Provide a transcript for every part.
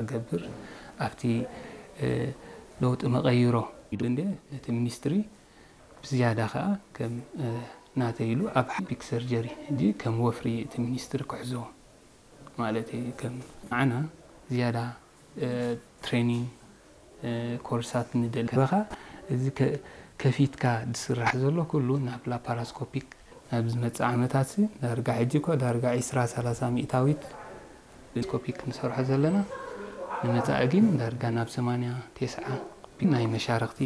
ክገብር ኣብቲ ለውጢ መቐይሮ ኢሉ እንደ እቲ ሚኒስትሪ ብዝያዳ ከዓ ከም ናተይ ኢሉ ኣብ ፒክ ሰርጀሪ ሕጂ ከም ወፍሪ እቲ ሚኒስትሪ ክሕዞ ማለት እዩ። ከም ንዓና ዝያዳ ትሬኒንግ ኮርሳት ንደሊ በኻ እዚ ከፊትካ ዝስራሕ ዘሎ ኩሉ ናብ ላፓራስኮፒክ ናብ ዝመፅእ ዓመታት ዳርጋ ሕጂ እኮ ዳርጋ ዒስራ ሰላሳ ሚእታዊት ስኮፒክ ንሰርሖ ዘለና ንመፃኢ ግን ዳርጋ ናብ ሰማንያ ተስዓ ናይ መሻርክቲ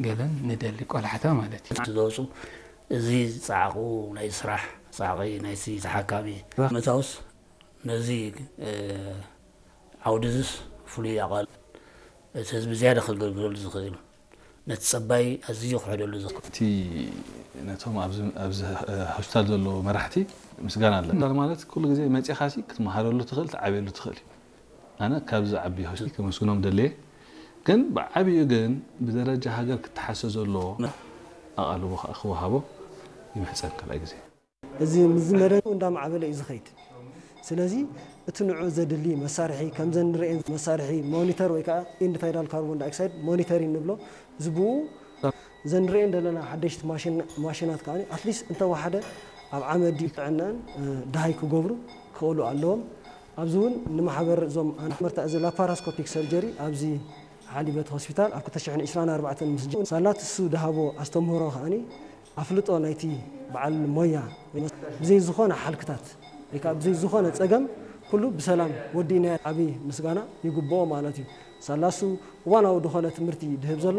ገለን ንደሊ ቆላሕታ ማለት እዩ። ዝወፁ እዚ ፃዕቁ ናይ ስራሕ ፃዕቂ ናይቲ ተሓካሚ መታውስ ነዚ ዓውዲ እዚስ ፍሉይ ኣቓል እቲ ህዝቢ ዝያዳ ክግልገለሉ ዝኽእል ነቲ ፀባይ ኣዝዩ ክሕደሉ ዝኽእል እቲ ነቶም ኣብዚ ሆስፒታል ዘለዉ መራሕቲ ምስጋና ኣለና ማለት ኩሉ ግዜ መፂኻሲ ክትመሃረሉ ትኽእል ትዓብየሉ ትኽእል እዩ ኣነ ካብዚ ዓቢ ሆስፒታል ከመስግኖም ደልየ ግን ብዓብዩ ግን ብደረጃ ሃገር ክተሓሰ ዘለዎ ኣቓልቦ ከዓ ክወሃቦ ይምሕፀን ካልኣይ ግዜ እዚ ምዚ መደብ እንዳማዕበለ እዩ ዝኸይድ። ስለዚ እቲ ንዑ ዘድሊ መሳርሒ ከምዘን ንርእየን መሳርሒ ሞኒተር ወይ ከዓ ኢንድ ታይዳል ካርቦን ዳይኦክሳይድ ሞኒተሪንግ ንብሎ እዚ ብኡ ዘን ንርእየን ዘለና ሓደሽቲ ማሽናት ከዓ ኣትሊስት እንተወሓደ ኣብ ዓመት ድዩ ጥዕነአን ደሃይ ክገብሩ ክኽእሉ ኣለዎም። ኣብዚ እውን ንማሕበር እዞም ኣንመርታ እዚ ላፓራስኮፒክ ሰርጀሪ ኣብዚ ሓሊበት ሆስፒታል ኣብ ክልተ ሽሕን ዕስራን ኣርባዕተን ምስ ጀ ሳላ ትሱ ድሃቦ ኣስተምህሮ ከዓኒ ኣፍልጦ ናይቲ በዓል ሞያ ብዘይ ዝኾነ ሓልክታት ወይ ከዓ ብዘይ ዝኾነ ፀገም ኩሉ ብሰላም ወዲእናዮ ዓብዪ ምስጋና ይግብኦ ማለት እዩ። ሳላ እሱ እዋናዊ ዝኾነ ትምህርቲ ድህብ ዘሎ